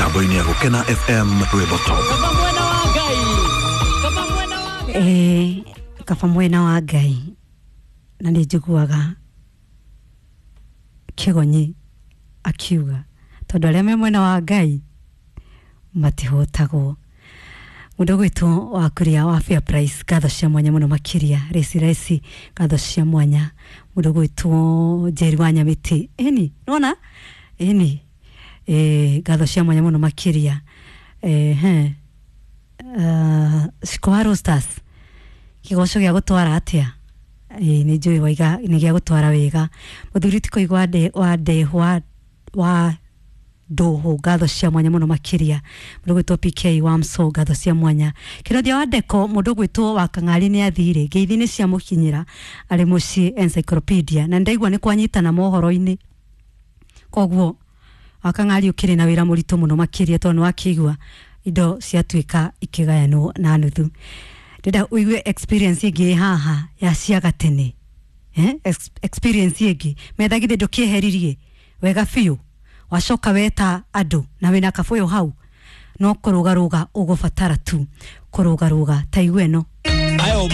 Mĩtambo-inĩ ya Gũkena FM Rwĩmbo Top. Ĩĩ, kaba mwena wa Ngai, na nĩ njiguaga kĩgonyi akiuga tondũ arĩa me mwena wa Ngai matihotagwo. Mũndũ ũgwĩtwo wa kũrĩa wa Fair Price, ngatho cia mwanya mũno makĩria. Reci Reci, ngatho cia mwanya. Mũndũ ũgwĩtwo Njeri wa Nyamĩtĩ, ĩni nona ĩni, ngatho cia mwanya mũno makĩria. Ehe, Ciko wa Roasters, kĩgoco gĩa gũtwara atĩa? Ĩĩ, nĩ njũĩ waiga nĩ gĩa gũtwara wega. Mũthuri ti kũigua wa ndehwa wa ndũhũ, ngatho cia mwanya mũno makĩria. Mũndũ ũgwĩtwo PK wa Mso, ngatho cia mwanya. Kĩrothia wa Ndeko, mũndũ ũgwĩtwo wa Kang'ari nĩ athire ngeithi nĩ ciamũkinyĩra arĩ mũciĩ encyclopedia, na ndaigua nĩ kwanyitana mohoro-inĩ, koguo wa Kang'ari ũkĩrĩ na wĩra mũritũ mũno makĩria tondũ nĩ wakĩigua indo ciatuĩka ikĩgayanwo na nuthu. Ndĩrenda ũigue experience ĩngĩ ĩ haha ya cia gatene, eh? Experience ĩngĩ metha githĩ ndũkĩeheririe wega biũ, wacoka weta andũ na wĩna kabũyũ hau, no kũrũgarũga ũgũbatara tu kũrũgarũga. Ta igua ĩno.